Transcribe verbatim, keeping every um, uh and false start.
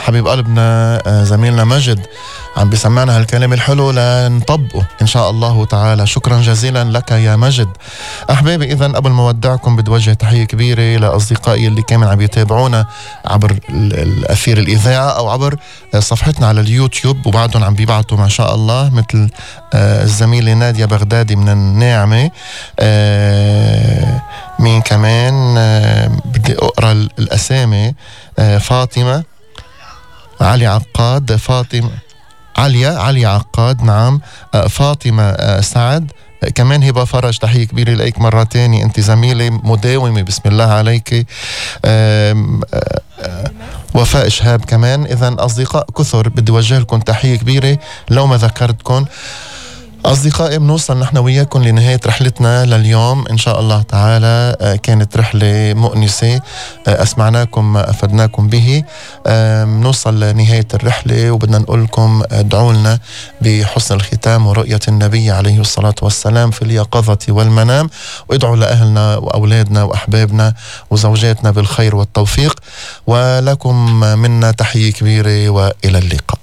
حبيب قلبنا زميلنا مجد عم بيسمعنا هالكلام الحلو لنطبقه إن شاء الله تعالى. شكرا جزيلا لك يا مجد. أحبابي إذن قبل ما ودعكم بدي وجه تحية كبيرة لأصدقائي اللي كانوا عم يتابعونا عبر الأثير الإذاعة أو عبر صفحتنا على اليوتيوب وبعدهم عم بيبعتوا ما شاء الله، مثل الزميلة نادية بغدادي من الناعمة. مين كمان بدي أقرأ الأسامي؟ فاطمة، علي عقاد، فاطمة عليا علي عقاد، نعم، فاطمة سعد، كمان هبة فرج تحية كبيرة لك مرة تاني، انت زميلة مداومة بسم الله عليك. وفاء شهاب كمان. إذن أصدقاء كثر بدي وجه لكم تحية كبيرة لو ما ذكرتكم. أصدقائي بنوصل نحن وياكم لنهاية رحلتنا لليوم إن شاء الله تعالى. كانت رحلة مؤنسة، أسمعناكم أفدناكم به. بنوصل لنهاية الرحلة وبدنا نقول لكم ادعوا لنا بحسن الختام ورؤية النبي عليه الصلاة والسلام في اليقظة والمنام، وادعوا لأهلنا وأولادنا وأحبابنا وزوجاتنا بالخير والتوفيق. ولكم منا تحية كبيرة وإلى اللقاء.